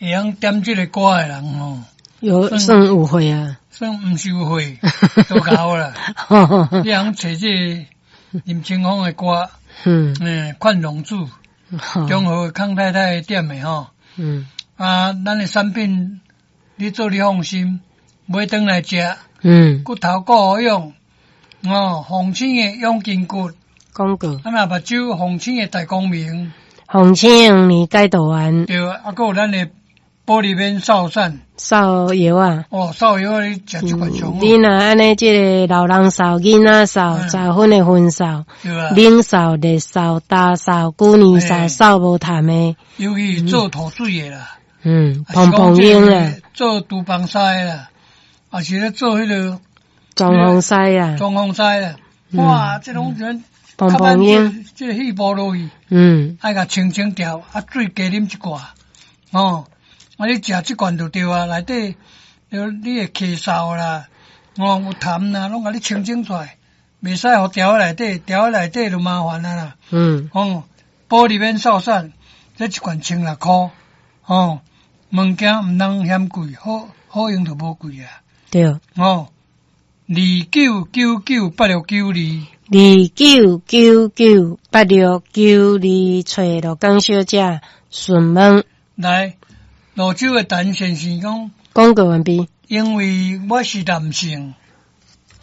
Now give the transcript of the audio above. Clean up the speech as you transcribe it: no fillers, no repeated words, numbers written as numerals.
會曉點這个歌的人吼，有算有慧啊，算毋是有慧，都𠢕啦。你通揣這个林清峰的歌，勸龍子，中和康太太點的吼。啊，咱的產品，你做你放心，買轉來食，骨頭顧好養，哦，鳳青的養筋骨，廣告。啊，若目睭鳳青的大光明，鳳青年解毒丸，對，啊，閣有咱的玻璃免瘦散，瘦藥啊，哦，瘦藥你食這款上好。你若按呢，這个老人瘦、囡仔瘦、早婚的婚瘦、冷瘦、熱瘦、焦瘦、舊年瘦、瘦無痰的，尤其做吐水的啦，蓬蓬嬰啦，做廚房師的啦，也是咧做彼个裝潢師啊，裝潢師啦，哇，這攏全蓬蓬嬰，這个氣泡落去，愛共清清掉，啊，水加啉一寡，哦，啊，你食這罐就對啊，內底你會咳嗽啦，哦，有痰啦，攏共你清清出來，袂使予牢佇內底，牢佇內底就麻煩啊啦。哦，玻璃免瘦散，這一罐千六箍，哦，物件毋通嫌貴，好好用就無貴啊。哦，29998692。29998692，揣羅江小姐詢問。來，蘆洲的陳先生講，廣告完畢。因為我是男性，